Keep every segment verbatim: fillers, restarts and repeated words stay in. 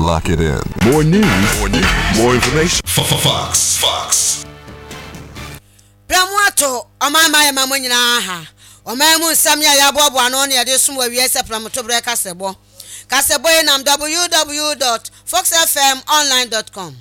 Lock it in. More news, more news, more information. Fox. Fox. Prɛmo ato ɔman ma yɛ ma mo nyinaa ha. Ɔman mu nsɛm yɛ a yɛaboaboa ano ne yɛde som wɔ awie sɛ prɛmotoberɛ kasɛbɔ. Kasɛbɔ yi nam w w w dot foxfmonline dot com.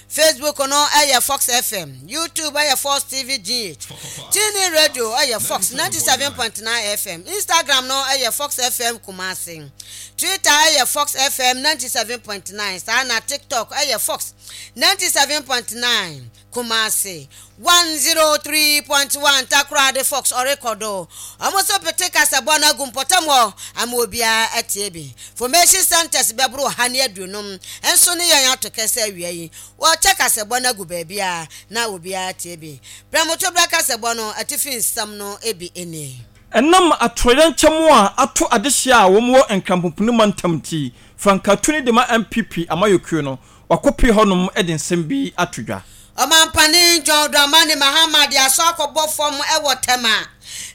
Facebook no ɛyɛ Fox F M, YouTube ɛyɛ Fox T V G H, TuneIn Radio ɛyɛ Fox ninety-seven point nine F M, Instagram no ɛyɛ Fox F M Kumasi, Twitter ɛyɛ Fox F M ninety-seven point nine, saa na TikTok ɛyɛ Fox ninety-seven point nine Kumasi, one oh three point one Takoradi. Fox ɔrekɔdo ɔmo nso pete kasabɔ no agu mpɔtam hɔ ama obiara atie bi. Information centers bɛboro ha ne aduonum nso ne yɛn ato kɛsɛ awia yi wɔkyɛ kasabɔ no agu baabi a na obiara tie bi. Prɛmoto brɛ kasabɔ no atifi nsɛm no bi nie. Ɛnam atoyerɛnkyɛm a ato adehyɛ a wɔn wɔ Nkrampomponi mantam ti frankatuni de ma N P P amayɔkuo no wakɔpie hɔnom de nsɛm bi ato dwa. Ɔmampanin John Dramani Mahama de asɔ akɔbɔ fam wɔ Tɛma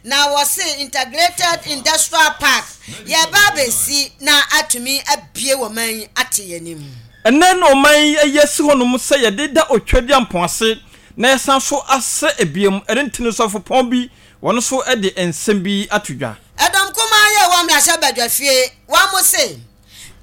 na wɔse integrated industrial park yɛba abɛsi na atumi abie wɔ man yi ate yɛn anim. Ɛnɛ na ɔman yi ayi asi hɔnom sɛ yɛde da otwadi ampɔn ase na yɛsan so asɛ ebiem. Ɛne ntini sɔfopɔn bi wɔn nso de nsɛm bi ato dwa. Ɛdɔm kumaa yɛ wɔ mmarahyɛ badwa fie wɔn mo se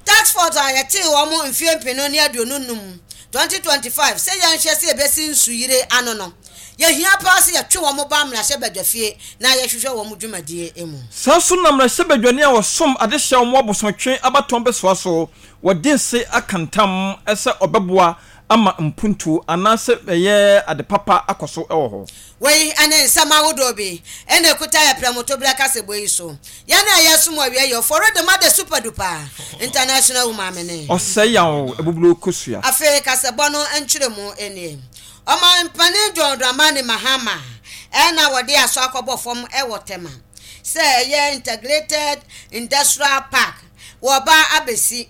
task force a yɛtee wɔn mfie mpenu ne aduonu num twenty twenty-five sɛ yɛnhwɛ sɛ yɛbɛsi nsuyire ano no, yɛhia paa sɛ yɛtwe wɔn ba mmarahyɛ badwa fie na yɛhwehwɛ wɔn dwumadie mu. Saa so na mmarahyɛ badwani a wɔsom adehyɛ wɔn abosomtwe abatɔn bɛsoa so wɔde nse aka ntam sɛ ɔbɛboa ama mpuntuo anaasɛ ɛyɛ ade papa akɔ so wɔ hɔ. Wei ne nsɛm ahodoɔ bi ɛna ekuta yɛ prɛmotoberɛ kasɛbɔ yi so. Yɛn a yɛsom awie yɛ ɔfɔre de ma de super duper international woman ne ɔsɛ yaw ebuburo kosua. Afei kasɛbɔ no nkyerɛ mu nie. Ɔmampanin John Dramani Mahama ɛna wɔde asɔ akɔbɔ fam ɛwɔ Tɛma sɛ ɛyɛ integrated industrial park wɔba abɛsi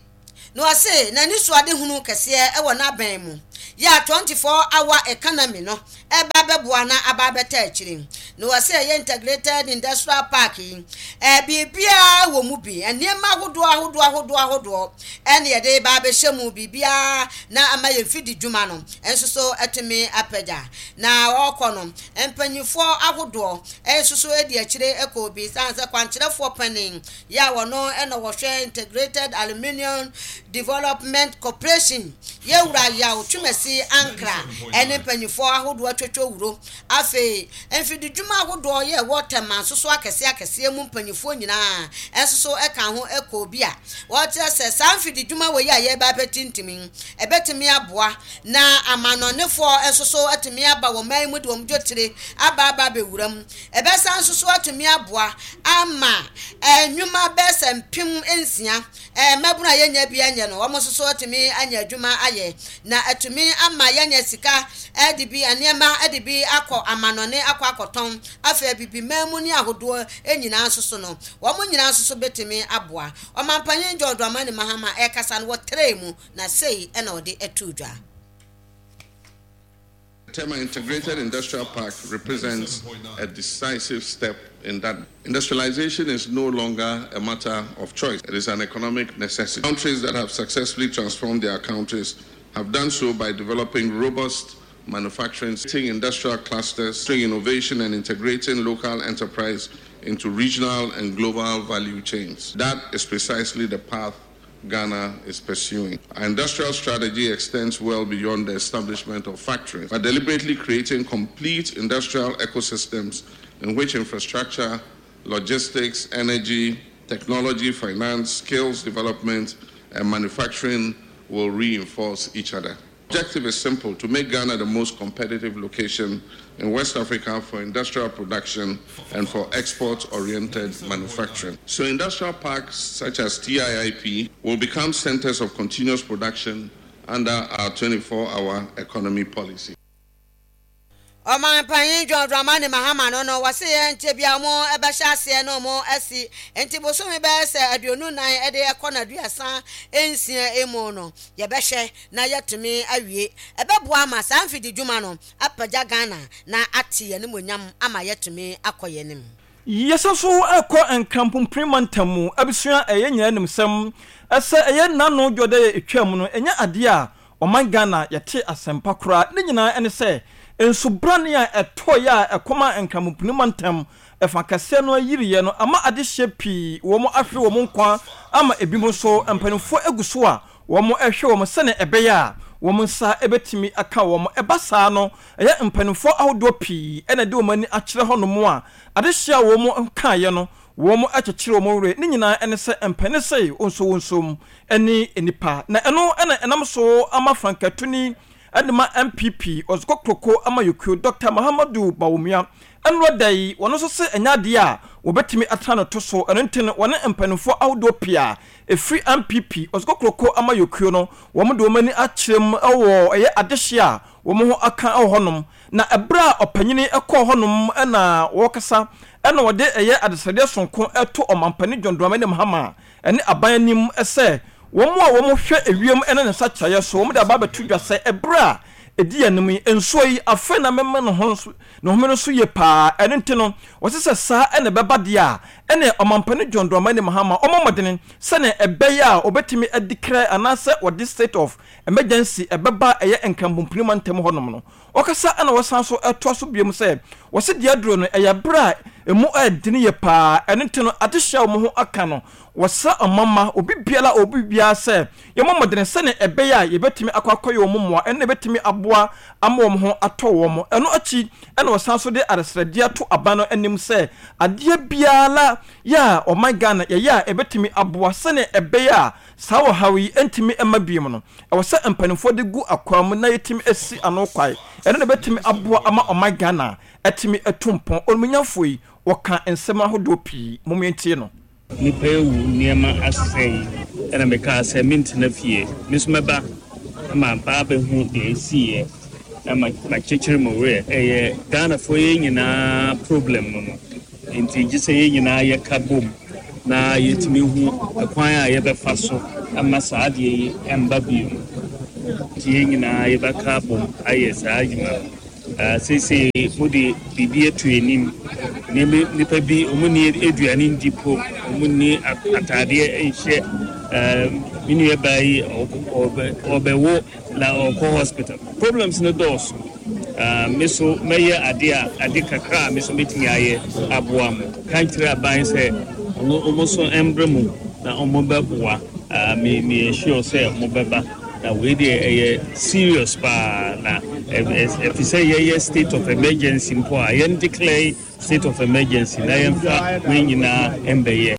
na ɔse n'ani so ade hunu kɛseɛ ɛwɔ n'abɛn mu yɛ a twenty-four hour economy no ɛba bɛboa na aba abɛta akyire. Na wɔsɛ ɛyɛ integrated industrial park yi, ɛɛ biribiara wɔ mu bi, nneɛma ahodoɔ ahodoɔ ahodoɔ ahodoɔ ɛne yɛde ba abɛhyɛ mu, biribiara na ama yɛn fidi dwuma no nso so ɛtumi apagya. Na ɔrekɔ no, mpanyinfoɔ ahodoɔ nso so di akyire ɛkɔ bi san sɛ kwankyerɛfoɔ panin yɛ a wɔno ɛna wɔhwɛ Integrated Aluminium Development Corporation, yɛwura Yaw Twumasi Ankra, ɛne mpanyinfoɔ ahodoɔ atwitwa wuro. Afei mfididwuma ahodoɔ yɛ ɛwɔ Tɛma nso so akɛseɛ akɛseɛ mu mpanyinfoɔ nyinaa ɛnso so ɛka ho ɛkɔ bi a wɔkyerɛ sɛ saa mfididwuma wɔ yi a yɛreba abɛtintim ɛbɛtumi aboa na amanɔnefoɔ nso so atumi aba wɔn man mu de wɔn dwetire aba aba abɛwura mu. Ɛbɛsan nso so atumi aboa ama nnwuma bɛyɛ sɛ mpem nsia, ɛɛ mmabunu a yɛnya bi anyɛ no, wɔn nso so atumi anya adwuma ayɛ na atumi ama yɛanya sika ɛde bi nneɛma ɛde bi akɔ amanɔne akɔ akɔtɔn. Afei abibiman mu ne ahodoɔ nyinaa nso so no, wɔn nyinaa nso so bɛtumi aboa. Ɔmanpanyin John Dramani Mahama ɛkasa no wɔtrɛ mu na sei ɛna ɔde ɛto dwa. Tema Integrated Industrial Park represents a decisive step in that. Industrialization is no longer a matter of choice. It is an economic necessity. Countries that have successfully transformed their countries have done so by developing robust manufacturing, industrial clusters, innovation, and integrating local enterprise into regional and global value chains. That is precisely the path Ghana is pursuing. Our industrial strategy extends well beyond the establishment of factories by deliberately creating complete industrial ecosystems in which infrastructure, logistics, energy, technology, finance, skills development, and manufacturing will reinforce each other. Objective is simple: to make Ghana the most competitive location in West Africa for industrial production and for export oriented manufacturing. So, industrial parks such as T I I P will become centers of continuous production under our twenty-four hour economy policy. Ɔmanpanyin John Dramani Mahama no no wɔse yɛn nkyɛ bi a wɔn ɛbɛhyɛ aseɛ na wɔn asi nti bosome bɛyɛ sɛ aduonu nan ɛde ɛkɔ n'aduasa nsia emu no, yɛbɛhwɛ na yɛtumi awie. Ɛbɛboa ama saa mfidi dwuma no apagya Ghana na ate yɛn animuonyam ama yɛtumi akɔ yɛn anim. Yɛsan so kɔ Nkranpompini mantam mu abusua a ɛyɛ nyinaa nim sɛm sɛ ɛyɛ nnano dwoda a ɛtwaa mu no ɛnyɛ adeɛ a ɔman Ghana yɛte asɛmpa koraa. Ne nyinaa ne sɛ nsubrane a ɛtɔeɛ a ɛkɔmaa Nkranpompini mantam ɛfa kɛseɛ no ayiriiɛ no ama adehyeɛ pii wɔn ahwere wɔn nkwa ama ebinom nso mpanimfoɔ agu so a wɔn rehwɛ wɔn sɛdeɛ ɛbɛyɛ a wɔn nsa bɛtumi aka wɔn. Ɛba saa no, ɛyɛ mpanimfoɔ ahodoɔ pii na ɛde wɔn ani akyerɛ hɔnom a adehyeɛ a wɔn kaeɛ no, wɔkyekyere wɔn werɛ. Ne nyinaa ne sɛ mpanin se wonsowonsom ne nnipa. Na ɛno na ɛnam so ama frankatuni de ma N P P Ɔdzekokroko Amayɔkuo Doctor Mahamadou Bawumia nnora da yi, wɔn nso se ɛnyɛ adeɛ a wɔbɛtumi atena no to so. Ɛno nti no, wɔne mpanimfoɔ ahodoɔ pii a ɛfiri N P P Ɔdzekokroko Amayɔkuo no, wɔn de wɔn ani akyerɛ mu wɔ ɛyɛ adehyeɛ a wɔn ho aka wɔ hɔnom. Na ɛberɛ a ɔpanyini kɔɔ hɔnom na wɔrekasa ɛna wɔde ɛyɛ adesrɛdeɛ sononko ɛto ɔmampanin John Dramani Mahama ɛne aban anim sɛ wɔn a wɔhwɛ ewiem ne ne nsakyeraeɛ so, wɔn de aba abɛto dwa sɛ ɛberɛ a ɛdi anim yi, nsuo yi afei na mɛma ne ho ne home no so yie paa. Ɛno nti no, wɔse sɛ saa ɛna ɛbɛba deɛ a, ɛne ɔmampanin John Dramani Mahama ɔmmɔ mmɔdene sɛnea ɛbɛyɛ a wɔbɛtumi adi krɛ anaasɛ wɔde state of emergency ɛbɛba ɛyɛ Nkranpompini mantam hɔnom no. Wɔkasa ɛna wɔsan so ɛtoa so biom sɛ wɔse deɛ aduro no ɛyɛ berɛ a emu ɛdene yie paa. Ɛno nti no, adehyɛ a wɔn ho aka no, wɔsrɛ ɔmama obi biara, obi biara sɛ yɛmmɔ mmɔdene sɛnea ɛbɛyɛ a yɛbɛtumi akɔ akɔyɛ wɔn mmoa, ɛno na ɛbɛtumi aboa ama wɔn ho atɔ wɔn. Ɛno akyi ɛna wɔsan so de adesrɛdeɛ ato aban no anim sɛ adeɛ biara yɛ a ɔman Ghana yɛyɛ a ɛbɛtumi aboa sɛnea ɛbɛyɛ a saa ɔhaw yi ntumi mma biom no, ɛwɔ sɛ mpanimfoɔ de gu akwan mu na yɛtumi asi ano kwae. Ɛno na ɛbɛtumi aboa ama ɔman Ghana ɛtumi atu mpɔn. Onimnyamfoɔ yi wɔka nsɛm ahodoɔ pii, mom yɛntie no. Nipa ewu, nneɛma asɛe, ɛna mekaa sɛ mentena fie, me nso mɛba na maba abɛhu deɛ ɛsiiɛ na makyekyere mo werɛ. Ɛyɛ Ghanafoɔ yɛn nyinaa problem no no nti gye sɛ yɛn nyinaa yɛka bom na yɛtumi hu ɛkwan a yɛbɛfa so ama saa adeɛ yi ɛmba bio. Nti yɛn nyinaa yɛbɛka bom ayɛ saa adwuma no. Seesei mode biribi ato anim. Nneɛma nipa bi ɔmo ni aduane ndi po, ɔmo ni ataadeɛ nhyɛ. Me nua baa yi ɔbɛwo na ɔkɔ hospital. Problems no dɔɔso. Me so mɛyɛ ade a ade kakra a me so mɛtumi ayɛ aboa mo. Ka nkyerɛ aban sɛ ɔno ɔmo so mbrɛ mu na ɔmo bɛboa. Me me sure sɛ ɔmo bɛba na wei deɛ ɛyɛ serious paa na ɛfi sɛ yɛyɛ state of emergency mpo a, yɛn declare state of emergency na yɛmfa wei nyinaa mbɛyɛ.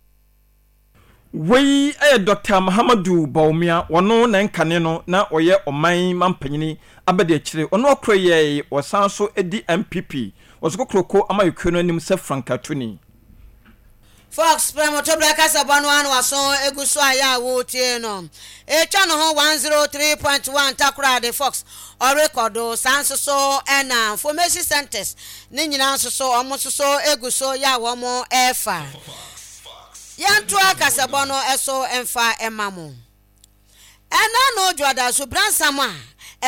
Wei yɛ Doctor Mahamadu Bawumia. Wɔno na nkane no na ɔyɛ ɔman mampanyini abɛde akyire. Ɔno akora yɛ wɔsan so di N P P wɔso kokoroko amayɛkuo no anim sɛ frankatoni. Fox prɛmotobra kasabɔ no ano aso egu so a yɛ a wotie no etwa ne ho one zero three point one Takoradi Fox ɔrekɔdo. Saa nso so ɛna information centers ne nyinaa nso so ɔmo nso so egu so yɛ a wɔn ɛɛfa. Yɛntoa kasabɔ no ɛso ɛmfa ɛma mo. Ɛna no dwoada so bransam a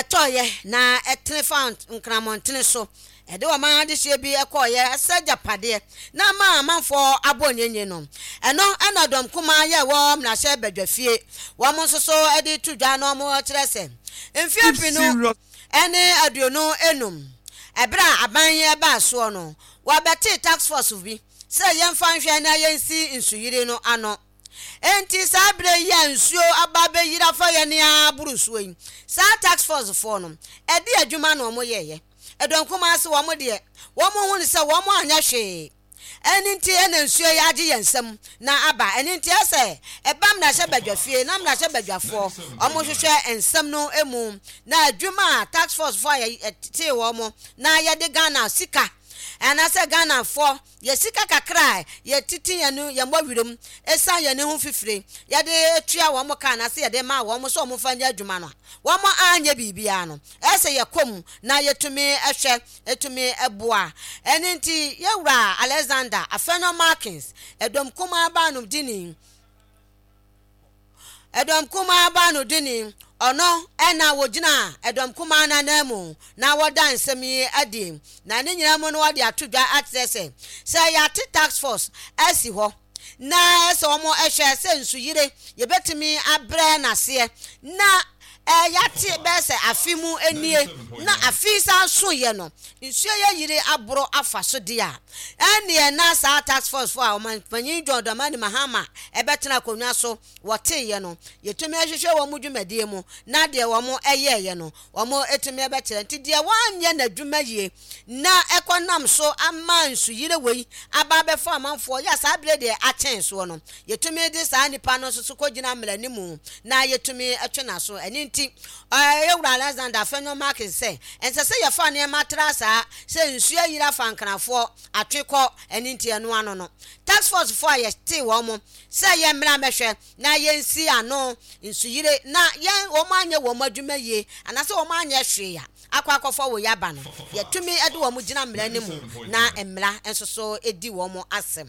ɛtɔɔyɛ na ɛtene fa nkramɔntene so ɛde ɔman adehyeɛ bi ɛkɔɔyɛ ɛsɛ gyapadeɛ na ama amanfoɔ abɔ nyenye no. Ɛno ɛna dɔm kumaa yɛ wɔ mmarahyɛ badwa fie, wɔn nso so ɛde to dwa na wɔn kyerɛ sɛ mfeɛ mpinu ɛne aduonu enum ɛberɛ a aban yi ɛbaa soɔ no, wɔbɛte task force bi sɛ yɛmfa nhwɛ na yɛnsi nsuyiri no ano. Enti saa berɛ yi a nsuo aba bɛyiri afa yɛn aboro nsuo yi, saa task force foɔ no ɛde adwuma na wɔn yɛɛyɛ. Ɛdɔm kumaa se wɔn deɛ wɔn ho ne sɛ wɔn anyɛ hwee. Ɛne nti ɛna nsuo yi agye yɛn nsam na aba. Ɛne nti ɛsɛ ɛba mmarahyɛ badwa fie na mmarahyɛ badwafoɔ wɔn hwehwɛ nsɛm no mu na adwuma a task force foɔ a yɛtee wɔn na yɛde Ghana sika anaasɛ Ghanafoɔ yɛ sika kakra a yɛtete yɛn no yɛn mmɔ werɛm ɛsan yɛn ho fifire yɛde tua wɔn ka anaasɛ yɛde ma wɔn sɛ wɔn fa nyɛ adwuma no a, wɔn anyɛ biribiara no, ɛsɛ yɛkɔ mu na yɛtumi ɛhwɛ ɛtumi ɛboa. Ɛne nti yɛwura Alexander Afenyo Markins, ɛdɔm kumaa baano dini ɛdɔm kumaa baano dini, Ɔno ɛna wɔgyina ɛdɔm kumaa n'anan mu na wɔda nsɛm yi adi, na ne nyinaa mu no wɔde ato dwa akyerɛ sɛ sɛ yɛate task force asi hɔ na ɛsɛ wɔn ɛhwɛ sɛ nsuyire yɛbɛtumi abrɛ n'aseɛ, na ɛɛ yɛate bɛyɛ sɛ afe mu nie na afe san so yɛ no nsuo yɛ yiri aboro afa so deɛ a, ɛneɛ na saa task force fo a ɔmanpanyin John Dramani Mahama ɛbɛtena akonnwa so wɔteeɛ no, yɛtumi ahwehwɛ wɔn mu dwumadie mu na deɛ wɔn ɛyɛɛyɛ no wɔn etumi ɛbɛkyerɛ. Nti deɛ wɔanyɛ n'adwuma yie na ɛkɔ nam so ama nsuyire wei aba abɛfa amanfoɔ yɛ saa abere deɛ akyɛn soɔ no, yɛtumi de saa nipa no nso so kɔgyina mmara ne mu na yɛtumi ɛtwe n'aso. Ɛne nti ɛyɛ wura Alexander Afenyo Markin sɛ ɛnsɛ sɛ yɛfa nneɛma tra saa sɛ nsuo ayiri afa Nkrafoɔ atwe kɔ. Ɛne nti ɛno ano no task force foɔ a yɛte wɔn mo sɛ yɛn mmra mɛhwɛ na yɛnsi ano nsuyire na yɛn wɔn anyɛ wɔn adwuma yie anaasɛ wɔn anyɛ hwee a akɔ akɔfɔ wɔ yaba no, yɛtumi de wɔn gyina mmara no mu na mmara nso so di wɔn asɛm.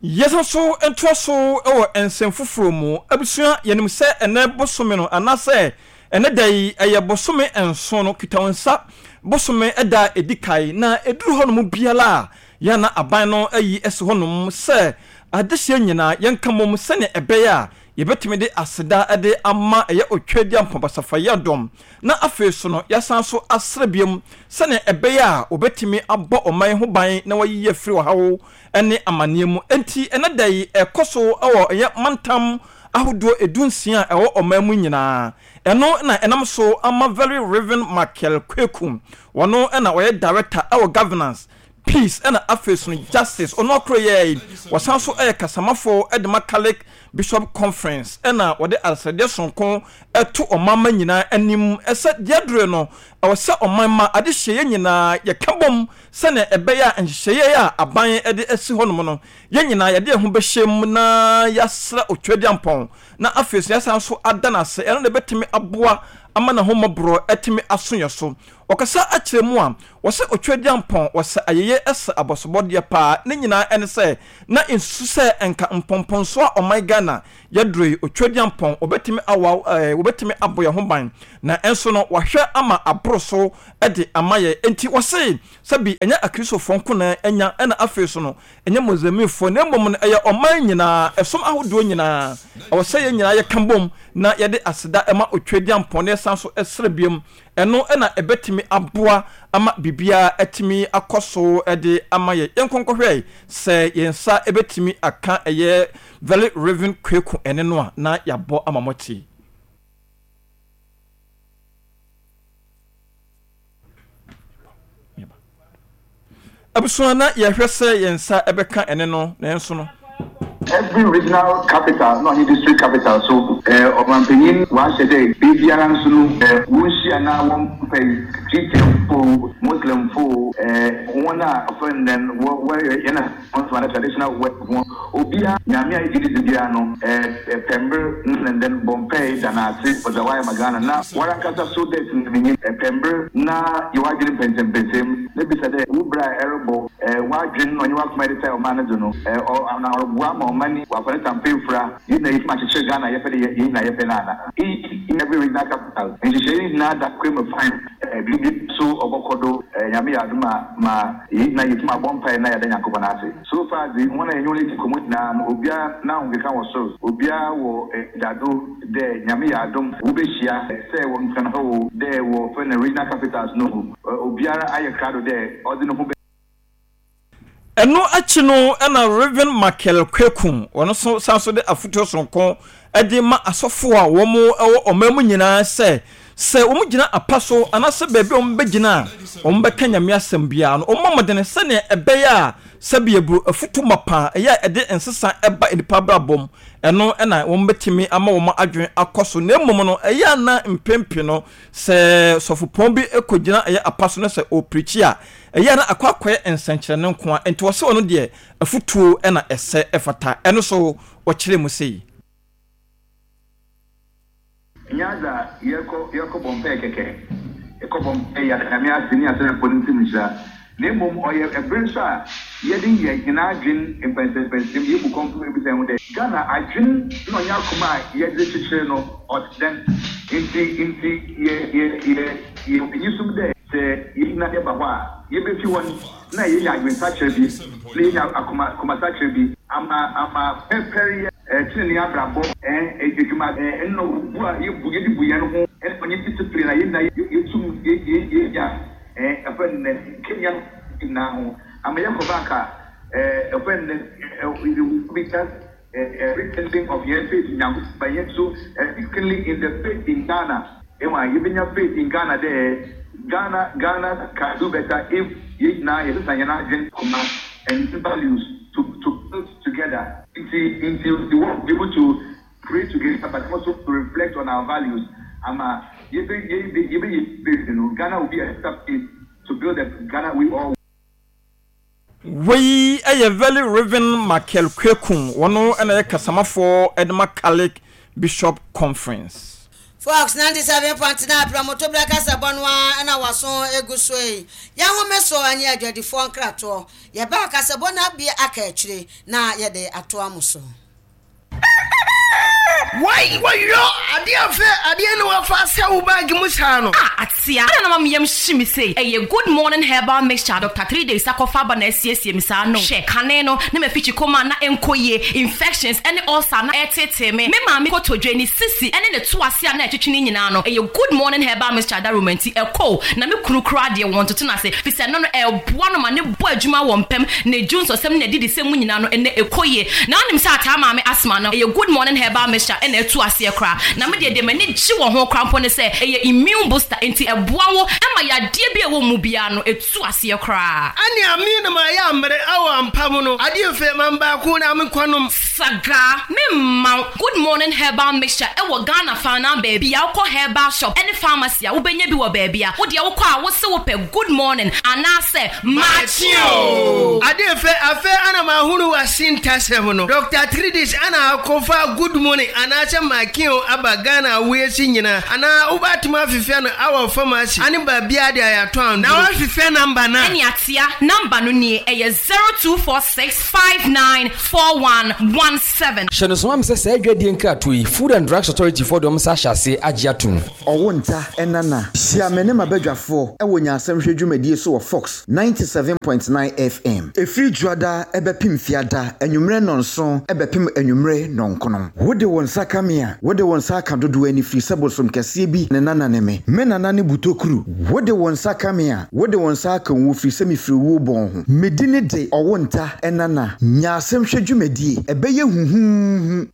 Yɛsan so ntoa so wɔ nsɛm foforɔ mu. Abusua, yɛnim sɛ ɛnɛ bosome no anaasɛ ɛnɛ da yi ɛyɛ bosome nson no kita wɔn nsa bosome ɛda a ɛdi kae, na ɛduru hɔnom biara a yɛn aban no ayi asi hɔnom sɛ adehyeɛ nyinaa yɛnka mmom sɛnea ɛbɛyɛ a yɛbɛtumi de aseda de ama ɛyɛ Otweaduampɔn Basafa Yiadom, na afei so no yɛasan so asrɛ biom sɛnea ɛbɛyɛ a wɔbɛtumi abɔ ɔman ho ban na wɔayiyi afiri ɔhaw ne amanneɛ mu. Enti ɛnɛ da yi ɛkɔ so wɔ ɛyɛ mantam ahodoɔ edu nsia a ɛwɔ ɔman mu nyinaa. Ɛno na ɛnam so ama Very Reverend Michael Kweku, wɔno na ɔyɛ director ɛwɔ governance, peace ɛna afei so no justice. Ɔno akoro yɛ yi, wɔsan so ɛyɛ kasamafo ɛde ma Catholic Bishop Conference, ɛna wɔde asrɛdeɛ sonko ɛto ɔman ma nyinaa anim ɛsɛ deɛ dure no ɛwɔ sɛ ɔman ma adehyɛ yɛn nyinaa yɛka bom sɛnea ɛbɛyɛ a nhyehyɛeɛ a aban ɛde asi hɔnom no yɛn nyinaa yɛde yɛn ho bɛhyɛ mu na yɛasrɛ Otweaduampɔn na afei so yɛasan so ada n'ase. Ɛno na ɛbɛtumi aboa ama n'ahommɔborɔ ɛtumi aso yɛ so. Ɔkasa akyerɛ mu a wɔsɛ Otweaduampɔn wɔsɛ ayɛyɛ ɛsɛ abɔsobɔdeɛ paa. Ne nyinaa ɛne sɛ na nsusu sɛ nka mpɔmpɔnso a ɔman Ghana yɛduro yi, Otweaduampɔn wɔbɛtumi awa ɛɛ wɔbɛtumi abɔ yɛn ho ban, na ɛnso no wahwɛ ama aboro so ɛde ama yɛ. Nti wɔse sɛbi ɛnyɛ Akristofoɔ nko na ɛnya, ɛna afei so no ɛnyɛ Muslimfoɔ, na mmom no ɛyɛ ɔman nyinaa, ɛsom ahodoɔ nyinaa. Ɛwɔ sɛ yɛn nyinaa yɛka bom na yɛde aseda ɛma Otweaduampɔn na yɛsan so ɛsrɛ biom. Ɛno ɛna ɛbɛtumi aboa ama biribiara ɛtumi akɔ so ɛde ama yɛ. Yɛn nkɔnkɔhwɛ sɛ yɛn nsa ɛbɛtumi aka ɛyɛ Very Reverend Kweku ɛne no a na yɛabɔ ama mɔte. Abusua, na yɛhwɛ sɛ yɛn nsa ɛbɛka ɛne no, nanso no Every regional capital na ɔnye district capital so, ɔmanpanyin wahyɛ dɛ beebiara nso no wonhyia na wɔmpɛ Christianfo, Muslimfo, wɔn a ɔfrɛ no dɛn wɔ wɔyɛ yɛn a traditional work ho, obiara Nyame a yɛgye dzi biara no pɛ mber na ndɛn bɔ mpae da n'ase ɔdza wayɛ ma Ghana, na warankasa so dɛ tsenamenyi pɛ mber na yɛ w'adwen mpɛnsɛmpɛnsɛm na bisa dɛ wo bra a ɛrebɔ w'adwen na ɔnye w'akoma yɛde tae ɔman no do no na ɔreboa ma ɔman yi wafa ne tampa efura yɛn nyinaa yɛtumi akyekyere Ghana yɛpɛ de yɛn nyinaa yɛpɛ no ana. Iyi every regional capital nhyehyɛe yi nyinaa da kwan mu fine, biribi so ɔbɔkɔ do. Nyame yɛ adom a ma yɛn nyinaa yɛtumi abɔ mpae na yɛada Nyankopɔn ase. So far dze, hɔn a yɛnye hɔn edzi nkɔmbɔ nyinaa no, obiara n'ahokeka wɔ sor, obiara wɔ enyidado dɛ Nyame yɛ adom wobehyia, sɛ wɔ Nkran ha o, dɛ wɔ frɛ no regional capitals no o, obiara ayɛ krado dɛ ɔdze no ho bɛ. Ɛno akyi no ɛna Reverend Michael Kweku wɔn nso san so de afotuo sononko de ma asɔfoɔ a wɔn wɔ ɔman mu nyinaa sɛ sɛ wɔn gyina apa so anaasɛ baabi a wɔn bɛgyina a wɔn bɛka Nyame asɛm biara no, wɔn mmɔ mmɔden sɛnea ɛbɛyɛ a sɛbi eburo afutu mapa ɛyɛ a ɛde nsesa ɛba nipa abrabɔ mu, ɛno ɛna wɔn bɛtumi ama wɔn adwene akɔ so. Na mmom no ɛyɛ ana mpempem no sɛ sɔfopɔn bi kɔgyina ɛyɛ apa so na sɛ ɔpirikyi a, ɛyɛ na akɔ akɔyɛ nsɛnkyerɛnne nko a. Nti wɔsɛ ɔno deɛ afutuo ɛna ɛsɛ ɛfata. Ɛno so wɔkyerɛ mu sei. Nyɛ adza yɛkɔ yɛkɔ bɔ mpae kɛkɛ, yɛkɔ bɔ mpae yɛada Nyame ase ne yɛasrɛ Nyankopɔn ne ntsɛm nhyira, na mbom ɔyɛ ber so a yɛde yɛ hɛn adwen mpɛnsɛmpɛnsɛm, yebu kɔmpɔ ebisa hɛnho dɛ, Ghana adwen na ɔnye akoma a yɛdze kyekyer no ɔtse dɛn? Nti nti yɛ yɛ yɛ yɛ enyisum dɛ sɛ yɛn nyinaa yɛba hɔ a, yɛbɛfi hɔ no na yɛnya adwensakyerɛ bi na yɛnya akoma akomasakyerɛ bi ama ama pɛpɛryɛ, ɛɛ tenenee abrabɔ, ɛɛ edwuma, ɛɛ ɛnna obu a yɛbu yɛde bu yɛn ho, ɛna ɔnye discipline a yɛn nyinaa yɛtum yɛ yɛ yɛnya, ɛɛ ɛfɛ nnɛ kenya nyinaa ho ama yɛkɔ back a, ɛɛ ɛfɛ nnɛ ɛɛ we just ɛɛ rekindling of yɛn faith in Nyankopɔn, but yɛn nso rekindling in the faith in Ghana. Ɛwɔ yɛbɛnya faith in Ghana dɛ Ghana Ghana can do better if yɛn nyinaa yɛsesa yɛn adwene koma and values to to build together. Nti nti we want to be able to pray together, but also to reflect on our values ama yɛbɛ yɛbɛ yɛbɛ yɛ no, Ghana will be a better place to build a Ghana we all Wei yɛ Very Reverend Michael Kwekum, wɔno na yɛ kasamafoɔ de ma Catholic Bishop Conference. Fox ninety-seven point nine prɔmotobra kasabɔ no ara na waso egu so yi. Yɛhome so ne adwadifoɔ nkratoɔ. Yɛbaa kasabɔ no abie aka akyire na yɛde atoa mo so. Wai wɔyɔ adeɛ afɛ adeɛ ne wafa sɛ wo bag mu saa no. A atea ana na mameyam hye me sei. Ɛyɛ Good Morning Herbal Mixture, Doctor Three Days akɔfa aba na asiesie me saa no. Hwɛ, kane no ne mafikyi kɔma na ɛnkɔ yie, infections ɛne ulcer na ɛtetee me. Me maame kotodwe ne sisi ɛne ne to ase a na ɛtwetwe ne nyinaa no, ɛyɛ Good Morning Herbal Mixture adaroma nti ɛkɔ. Na me kunu koraa deɛ, wɔn toto no ase fi sɛ no no ɛboa no ma ne bɔ adwuma wɔ mpɛm ne dwu nsɔsɛm ne adidi sɛm mu nyinaa no, ɛnɛ ɛkɔ yie. Na wonim sɛ ataa maame asthma no, ɛyɛ Good Morning Herbal Mixture ɛna ɛtu aseɛ koraa. Na me deɛ deɛ m'ani gye wɔ ho koraa mpo ne sɛ ɛyɛ immune booster, nti ɛboa wo ɛma yadeɛ bi a ɛwɔ mu biara no ɛtu aseɛ koraa. Ane ame no ma ɛyɛ ammerɛ awɔ ampa mu no, adeɛ fɛ ma baako na menkɔnom. Saga memma Good Morning Herbal Mixture ɛwɔ Ghana faana baabi a wokɔ herbal shop ɛne pharmacy a, wobɛnya bi wɔ baabi a wodeɛ wokɔ a wose wopɛ Good Morning anaasɛ Maakye o. Adeɛ fɛ afɛ ana mahunu wase ntasɛm no, Doctor Tridis ana akɔfa Good Morning anaasɛ Maakye aba Ghana awoyɛsi nyinaa, anaa wobɛatumi afefɛ no awɔ pharmacy ane baabia de ayɛatɔ anduro na woafefɛ number no a. Ɛne atea number no nie, ɛyɛ zero two four six five nine four one one seven. Hyɛ no soma me sɛ saa adwadie nkratoɔ yi, Food and Drugs Authority foɔ de ɔm nsa ahyɛ aseɛ agye atom. Ɔwo nta ɛnana hyia me ne m'abadwafoɔ ɛwɔ nyansɛmhwɛ dwumadie so wɔ Fox ninety-seven point nine F M. Ɛfiri dwoada ɛbɛpem fiada anwummerɛ nnɔnson ɛbɛpem anwummerɛ nnɔnkono. Wode wo nsa ka me a, wode wo nsa aka dodoɔ ani, firi sɛ bosom kɛseɛ bi ne nana ne me. Me nana ne butokuru. Wode wo nsa ka me a, wode wo nsa aka wo, firi sɛ mefiri wuo bɔn ho. Medi ne de ɔwo nta ɛnana nyaasɛmhwɛ dwumadie ɛbɛyɛ huhuuhu.